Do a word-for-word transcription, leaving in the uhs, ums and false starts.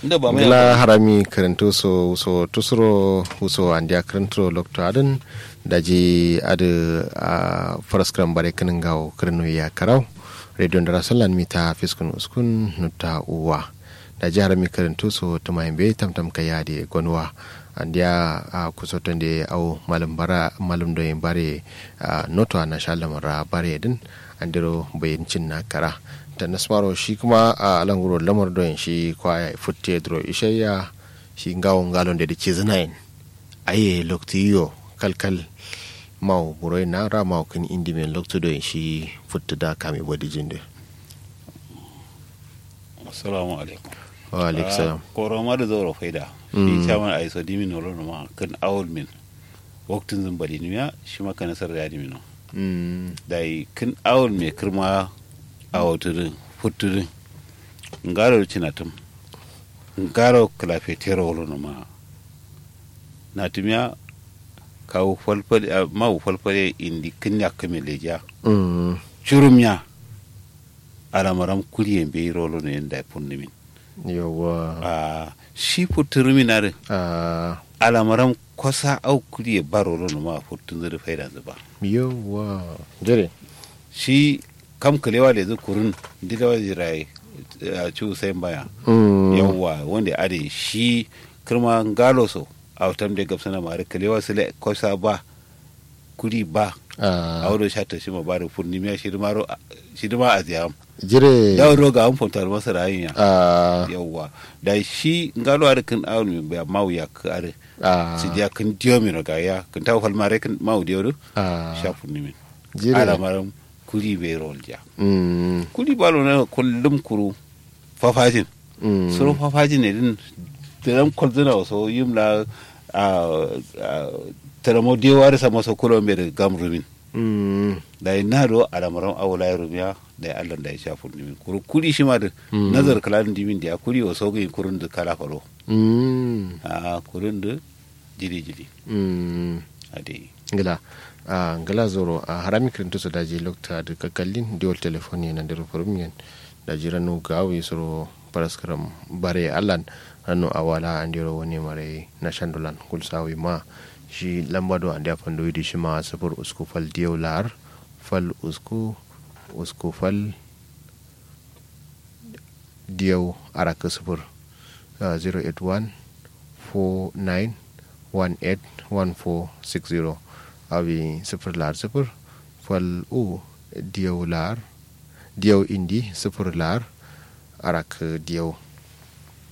Ngla harami kǝrǝntu so wuso tusuro wuso andiya kǝrǝnturo loktu adǝn. Daji adǝ a faraskǝram bare kǝnin ngawo kǝrǝnu ya karau. Rediyo ndara sallan mita fiskun uskun nutta uwa. Daji harami kǝrǝntu so tǝma yimbe tamtam kayya adǝ ye gonuwa. Andiya a kusotonde au malum bara malum doyin bare. Noto a nasha lamara bare dǝn andiro bayin cinna kara. Tanasmaro shi kǝma a languro lamar doyin shi kwaya futte duro ishaiya. Shi ngawo ngalonde dǝ cizǝnayin. Aye loktu yiyo kalkal. Mawu buroyin na ra mawu kǝn indimen loktu doyin shi futtu da kame bodi jinde. Assalamu alaikum. Wa alaikum salam. Koroma dǝ zauro faida. Shi chairman aiso dimin nolo numa kǝn awul min. Waktǝnzǝn badinimiya shima kanasar da yadimino. Dayi kǝn awul me kǝrma. Awotǝdǝ futtǝdǝ ngaro dǝ cinatǝm. Ngaro kǝlafetero wolo numa. Natǝmiya kawu falfal mawu falfal ye indi kǝn yakkǝ me lejiya. Curum ya. Alamaram kuliye mbeyi rolo no yen dayi funnumin. Yauwa. Shi futtǝrumin adǝ. Alamaram kosa au kuliye ba rolo numa futtǝnzǝ dǝ faidanzǝ ba. Yauwa. Jire. Shi kam kǝlewa lezǝ kurun ndilewa jiraye. Cu sai mbaya. Yauwa wande adǝ shi kǝrma ngalo so. Au tamde gabsǝna ma adǝ kǝlewa sǝle kosa ba. Kuri ba. Awo do sha tashima ba dǝ furnimiya shidǝmaro. Shidǝma aziyam. Jire dawo do gawun fonto almasara ayinya. Yauwa. Dayi shi ngalo adǝ kǝn awon min baya mawu yakkǝ adǝ. Sidiya kǝn diyo mino gaya kǝn tawo falmare kǝn mawu diyo dǝ. Sha furnimin. Jire alamaram. Kuri be rolja. Kuri balo na kullum kuru. Fafajin. Suro fafajin ne din. Tǝram kolzǝna waso yim la. Tǝramo dewa dǝ sama so kulo mbe dǝ gam rumin. Dayi na do alamaram awo layi rumiya. Dayi allan dayi sha furnimin kuru kuri shima dǝ. Nazar kǝla dǝ ndimin diya kuri waso gǝyi kurun dǝ kala falo. Ahh kurun dǝ. Jili jili. Adai. Ngla. Ahh ngla zoro ahh harami kǝrintu so daji loktu adǝ kakkallin diwol telefon ye nandiro furum yen. Daji ranu gawi suro faraskǝram bare allan. Ranu awala andiro wane mare nashandulan gulsawi ma. Shi lamba do andiya fanduwi dǝ shima sufur usku fal diyo lar. Fal usku usku fal. Diyau arakkǝ sǝfur. Zero eight one four nine one eight one four six zero. Awi sǝfur lar sǝfur. Fal u diyau lar. Diyau indi sǝfur lar. Arakkǝ diyau.